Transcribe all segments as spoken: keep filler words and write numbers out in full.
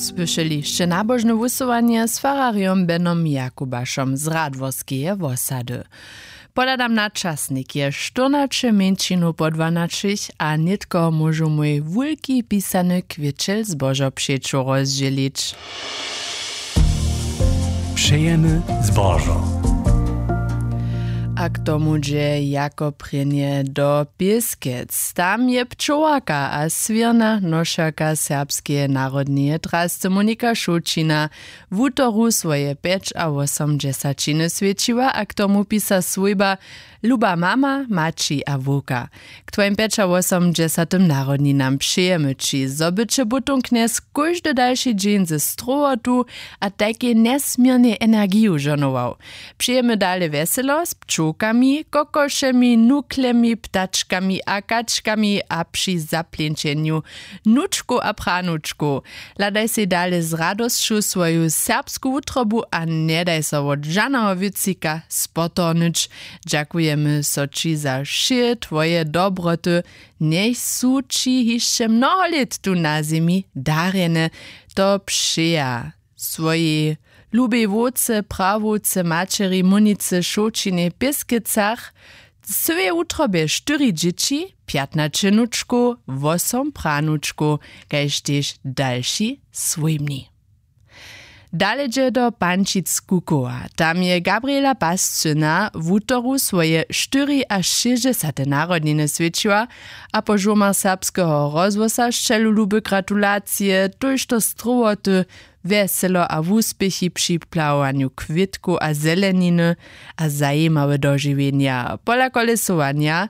Słyšeli sće nabožne wusyłanje z fararjom Benom Jakubašom z Radworskeje wosady. Pohladam na časnik, je štyrnaće mjeńšinow po dwanaćich a nětko móžu mój wulki pisany kwěćel zbožo přeću rozdźělić. Přejemy zbožo. A k tomu dźe jako prěnje do Pěskec. Tam je pčołarka a swěrna nošerka serbskeje narodneje drasce Monika Šołćina wutoru swoje pjećawosomdźesaćiny swjećiła a k tomu pisa swójba: Luba mama, maći a wowka, k twojim pjećawosomdźesatym narodninam přejemy ći, zo by će butón knjez kóždy dalši dźeń ze strowotu a tajkej njesměrnej energiju žohnował. Přejemy dale wjeselo z pčołkami, kokošemi, nuklemi, ptačkami a kačkami a při zapleńćenju nučkow a pranučkow. Hladaj sej dale z radosću swoju serbsku wutrobu a njedaj so wot žaneho wěcika spotornyć. Dźakujemy so ći za wšě twoje dobroty, njech su ći hišće mnoho lět tu na zemi darjene. To přeja swojej lubej wowce, prawowce, maćeri Monicy Šołćinej w Pěskecach, w cyłej wutrobje štyri dźěći, pjatnaće nučkow, wosom pranučkow, kaž tež dalši swójbni. Dale dźe do Pančic Kukowa. Tam je Gabriela Pascyna wutoru swoje štyriašěsćdźesate narodniny swjećiła a po žurmach Serbskeho rozhłosa sćelu lube gratulacije, tójšto strowoty, wjeselo a wuspěchi při plahowanju kwětkow a zeleniny a zajimawe dožiwjenja. Pola kolesowanja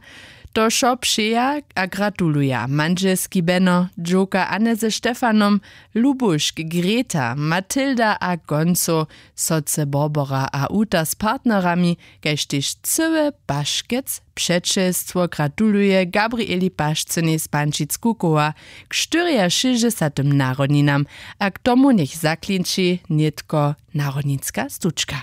to wšo přeja a gratuluja mandźelski Beno, dźowka Anne ze Štefanom, Lubušk, Greta, Matilda a koncow, sotře Borbora a Uta z partnerami, kaž tež cyłe Paškec přećelstwo gratuluje Gabrieli Pašcynej z Pančic Kukowa k štyriašěsćdźesatym narodninam a k tomu njech zaklinči nětko narodninska stučka.